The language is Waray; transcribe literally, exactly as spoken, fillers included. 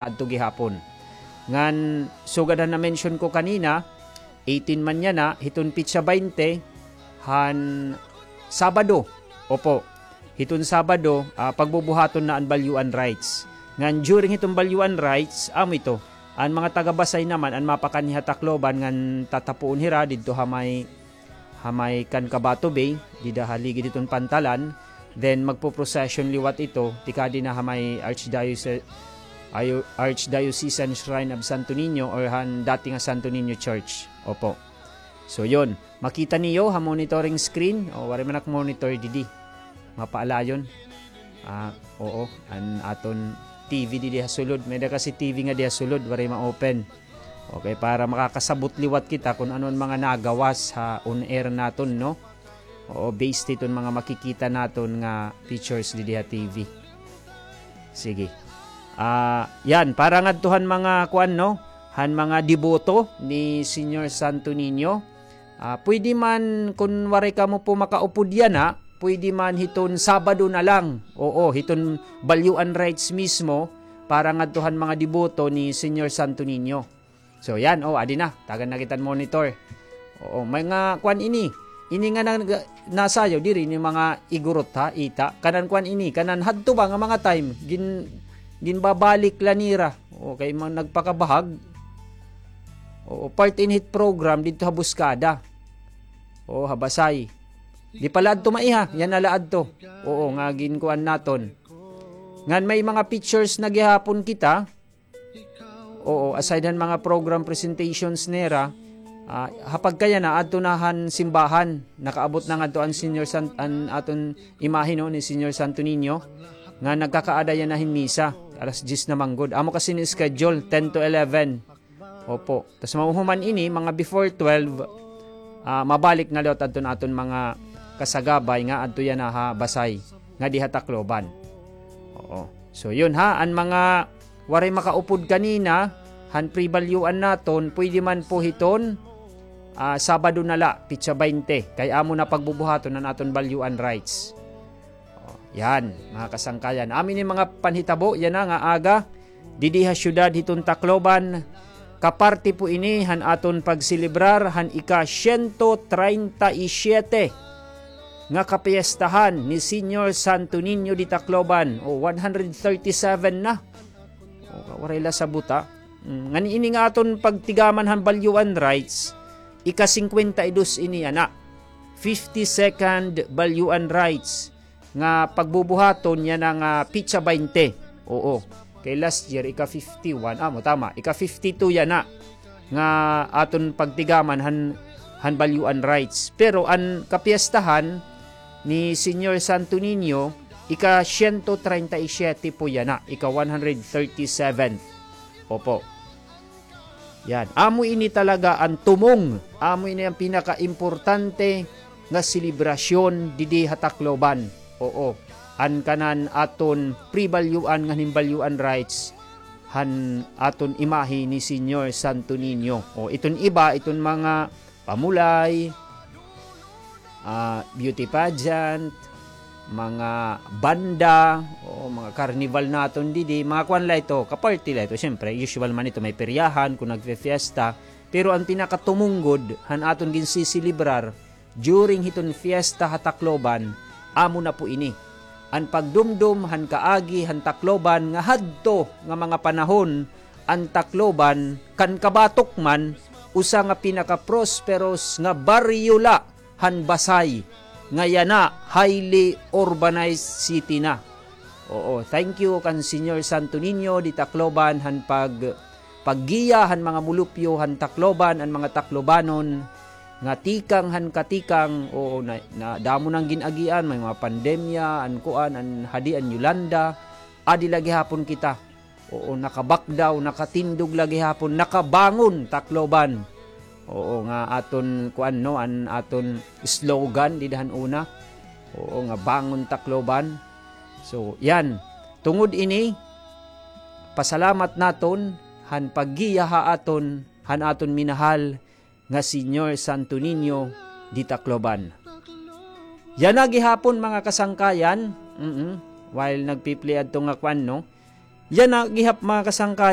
adto gihapon. Ngan sugad han na-mention ko kanina, eighteen man yana, hiton petsa baynte, han Sabado. Opo. Hiton Sabado, ah, pagbubuhaton na an balyuan rites. Ngan during hiton balyuan rites, amo ito, an mga taga-Basay naman, an mapakanhi ha Tacloban, ngan tatapuon hira didto ha may ha may kan Cabato Bay, dida ha ligid hiton pantalan, then magpo-procession liwat ito, tikadi na ha may Archdiocese, ayo-, Archdiocesan Shrine of Santo Niño or han dati nga Santo Niño Church. Opo. So, yun. Makita niyo ha monitoring screen. O, waray man ak monitor didi. Mapaalayon. Ah, oo. An aton T V didi ha sulod. May-ada kasi T V nga di ha sulod. Waray ma-open. Okay, para makakasabot liwat kita kun ano an mga nagawas ha on-air naton, no? Oo, based hiton mga makikita naton nga pictures didi ha T V. Sige. Ah, yan, para ngadto han mga kuan, no? Han mga deboto ni Señor Santo Niño. Ah, pwede man, kun waray kamo po makaupod yana, pwede man hiton Sabado na lang. Oo, hiton balyuan rites mismo, para ngadto han mga deboto ni Señor Santo Niño. So, yan. O, adi na. Tagan na kita hin monitor. Oo, may nga kuan ini. Ini nga nag-, nasayaw diri ni mga igurot, ha, ita. Kanan kuan ini, kanan hadto ba nga mga time, gin-, ginbabalik la nira. Okay, mga nagpakabahag. Oo, part ini hit program didto ha Buskada. Oo, ha Basay. Di pala adto maiha, yana la adto. Oo, nga ginkuan naton. Ngan may mga pictures na gihapon kita. Oo, aside han mga program presentations nira, ah, ha pagkayana, adto na han simbahan. Nakaabot na ngadto an Señor San-, an aton imahe, no, ni Señor Santo Niño, nga nagkakaada yana hin misa. Alas diyes na man gud. Amo kasi ni schedule, ten to eleven. Opo. Tas mahuhuman ini, mga before twelve, ah, mabalik na liwat adton aton mga kasagabay nga adto yana ha Basay, nga di ha Tacloban. Oo. So, yun ha, an mga waray makaupod kanina, han pre-balyuan naton, pwede man po hiton, ah, Sabado na la, petsa baynte, kay amo na pagbubuhaton an aton balyuan rites. O, yan, mga kasangkayan. Amo ini mga panhitabo yana nga aga, didi ha syudad hiton Tacloban, kaparte po ini han aton pagselebrar han ika-siyento treinta y siete nga kapiestahan ni Señor Santo Niño de Tacloban, o, one hundred thirty-seven na. O, waray la sabot, ha. Mm, ngan ini nga aton pagtigaman han balyuan rites, ika-singkwenta y dos ini yana. Fifty-second balyuan rites nga pagbubuhaton yana nga petsa baynte. Oo. Kay last year, ika-fifty-one. Amo, tama. Ika-fifty-two yana nga aton pagtigaman han, han balyuan rites. Pero an kapiestahan ni Señor Santo Niño, ika-siyento treinta y siete po yana, ika-one hundred thirty-seven. Opo. Yan. Amo ini talaga an tumong. Amo ini an pinakaimportante nga selebrasyon didi ha Tacloban. Oo. An kanan aton pre-balyuan ngan hin balyuan rites han aton imahe ni Señor Santo Niño. O, iton iba, iton mga pamulay, ah, beauty pageant, mga banda, o mga carnival naton didi, mga kuan la ito, kaparty la ito. Siyempre, usual man ito, may peryahan, kun nagfe-fiesta. Pero an pinakatumongod han aton ginsiselebrar during hiton fiesta ha Tacloban, amo na po ini. An pagdumdom han kaagi han Tacloban nga hadto nga mga panahon, an Tacloban, kan kabatok man, usa nga pinaka-prosperous nga baryo la han Basay, nga yana highly urbanized city na. Oo, thank you kan Señor Santo Niño de Tacloban han pag-, paggiya han mga mulupyo han Tacloban, an mga Taclobanon nga tikang han katikang. Oo, na, na damo nang gin-agian, may mga pandemya, an kuan, an hadi, an Yolanda, adi la gihapon kita. Oo, nakabakdaw, nakatindog la gihapon, nakabangon Tacloban. Oo, nga aton kuan, no, an aton slogan dida han una. Oo, nga bangon Tacloban. So, yan. Tungod ini, pasalamat naton han paggiya ha aton, han aton minahal nga Señor Santo Niño de Tacloban. Yana gihapon, mga kasangkayan, mm, while nagpi-play adto nga kuan, no? Yana gihap, mga kasangkayan.